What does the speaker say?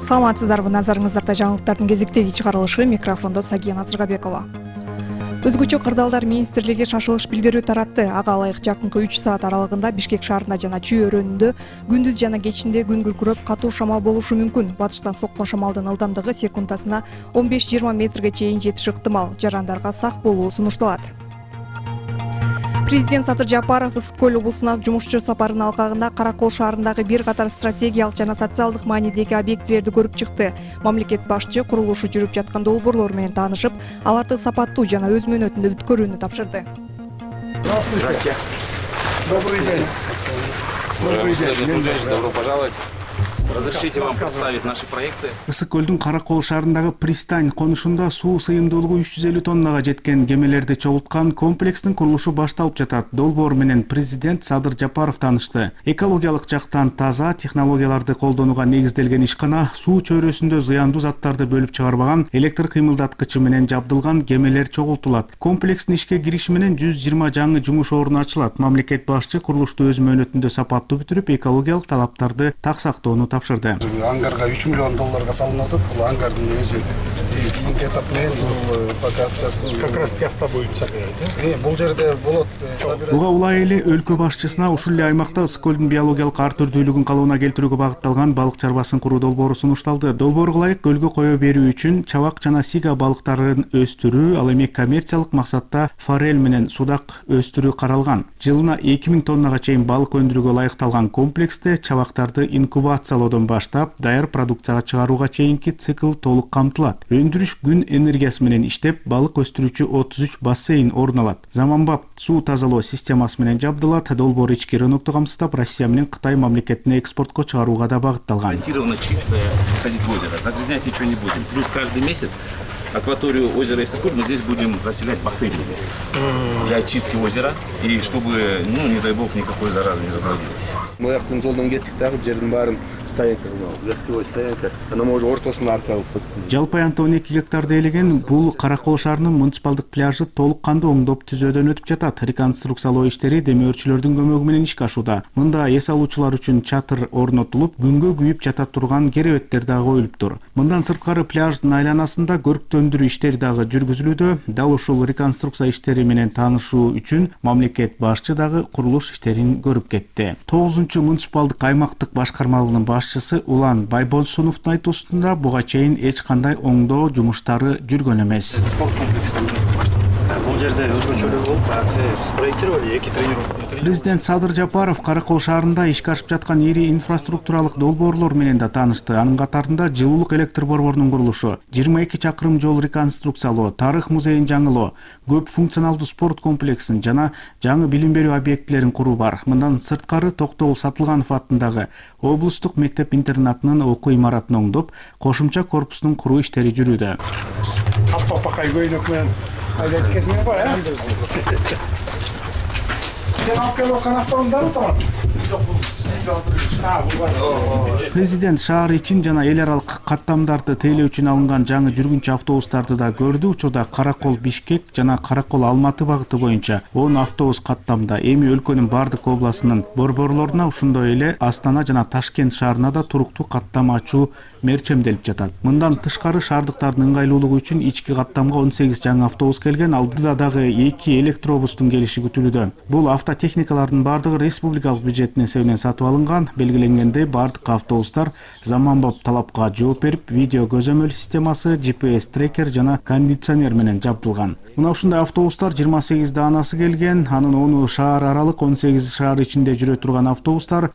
Саламатсыздарбы, назарыңыздарда жаңылыктардын кезектеги чыгарылышы, микрофондо Сагия Назырбекова. Өзгөчө кырдаалдар министрлиги шашылыш билдирүү таратты. Ага ылайык жакынкы 3 саат аралыгында Бишкек шаарында жана Чүй өрөөнүндө күндүз жана кечинде күн күркүрөп катуу шамал болушу мүмкүн. Батыштан соккон шамалдын ылдамдыгы секундасына 15-20 метрге чейин жетиши ыктымал. Жарандарга сак болуу сунушталат. Президент Садыр Жапаров Ысык-Көл облусуна жумушчу сапарынын алкагында Каракол шаарындагы бир катар стратегиялык жана социалдык маанидеги объектилерди көрүп чыкты. Мамлекет башчы курулушу жүрүп жаткан долбоорлор менен таанышып, аларды сапаттуу жана өз мөөнөтүндө бүткөрүүнү тапшырды. Здравствуйте. Добрый день. Добрый день. Добро пожаловать. Разрешите вам представить наши проекты. Ысык-Көлдүн Каракол шаарындагы пристань конушунда суу сыйымдуулугу 350 тоннага жеткен кемелерди чогулткан комплекстин курулушу башталып жатат. Долбоор менен президент Садыр Жапаров таанышты. Экологиялык жактан таза технологияларды колдонууга негизделген ишкана суу чөйрөсүндө зыяндуу заттарды бөлүп чыгарбаган электр кыймылдаткычы менен жабдылган кемелер чогултулат. Комплекстин ишке кириши менен 120 жаңы жумуш орну ачылат. Мамлекет башчы курулушту өз мөөнөтүндө сапаттуу бүтүрүп, экологиялык талаптарды так сактоону тапшырды. Ангарга 3 миллион долларга салынып атат. Бул ангардын өзү кийинки этап менен бул покупчасын как раз тиякта будет собирать. Бул жерде болот собирать. Буга улай эле өлкө башчысына ушул эле аймакта Ысык-Көлдүн биологиялык ар түрдүүлүгүн калыбына келтирүүгө багытталган балык чарбасын куруу долбоору сунушталды. Долбоорго ылайык көлгө кое берүү үчүн чабак жана сига балыктарын өстүрүү, ал эми коммерциялык максатта форель менен судак өстүрүү каралган. Жылына 2000 тоннага чейин балык өндүрүүгө ылайыкталган комплексте чабактарды инкубациялоодон баштап даяр продукцияга чыгарууга чейинки цикл толук камтылат. Өндүрүш күн энергиясы менен иштеп, балык өстүрүүчү 33 бассейн орун алат. Заманбап суу тазалоо системасы менен жабдылат. Долбоор ички рынокту камсыздап, Россия менен Кытай мамлекетине экспортко чыгарууга да багытталган. Гарантированно чистое ходить в озеро. Загрязнять ничего не будем. Плюс каждый месяц акваторию озера Ысык-Көл мы здесь будем заселять бактериями для очистки озера и чтобы, не дай бог, никакой заразы не разводилось. Мы жактан жолдон кеттик дагы жердин баарын стоянка, гостевой стоянка. Анан уже ортосуна арка алып коттук. Жалпы аянтта 12 гектарды ээлеген бул Каракол шаарынын муниципалдык пляжы толук кандуу оңдоп түзөөдөн өтүп жатат. Реконструкциялоо иштери демөөрчүлөрдүн көмөгү менен ишке ашууда. Мында эс алуучулар үчүн чатыр орнотулуп, күнгө күйүп жата турган керебеттер дагы коюлуптур. Мындан сырткары пляждын айланасында көрктөндүрүү иштери дагы жүргүзүлүүдө. Дал ушул реконструкция иштери менен таанышуу үчүн мамлекет башчы дагы курулуш иштерин көрүп кетти. 9-муниципалдык аймактык башкармалыгынын башчысы Улан Байболсуновдун айтуусунда буга чейин эч кандай оңдоо жумуштары жүргөн эмес. Спорт комплексин бул жерде өзгөчөлүк болуп, спроектировали 2 тренировка. Президент Садыр Жапаров Каракол шаарында ишке ашып жаткан ири инфраструктуралык долбоорлор менен да таанышты. Анын катарында жылуулук электр борборунун курулушу, 22 чакырым жол реконструкциялоо, тарых музейин жаңылоо, көп функционалдуу спорт комплексин жана жаңы билим берүү объектилерин куруу бар. Мындан сырткары Токтогул Сатылганов атындагы облустук мектеп-интернатынын окуу имаратын оңдоп, кошумча корпусунун куруу иштери жүрүүдө. Аппакай көйнөк менен айдап кетесиңер го, Сен алып келип аткан автобустарбы турат? Жок, бул сиз алдырып. Президент шаар ичин жана эл аралык каттамдарды тейлөө үчүн алынган жаңы жүргүнчү автобустарды да көрдү. Учурда Каракол Бишкек жана Каракол Алматы багыты боюнча 10 автобус каттамда. Эми өлкөнүн бардык областынын борборлоруна, ошондой эле Астана жана Ташкент шаарына да туруктуу каттам ачуу мерчемделип жатат. Мындан тышкары шаардыктардын ыңгайлуулугу үчүн ички каттамга 18 жаңы автобус келген. Алдыда дагы 2 электробустун келиши күтүлүүдө. Бул автотехникалардын бардыгы республикалык бюджеттин эсебинен сатып алынган. Белгиленгендей, бардык автобустар заманбап талапка жооп берип, видео көзөмөл системасы, GPS трекер жана кондиционер менен жабдылган. Мына ушундай автобустар 28 даанасы келген. Анын 10 шаар аралык, 18 шаар ичинде жүрө турган автобустар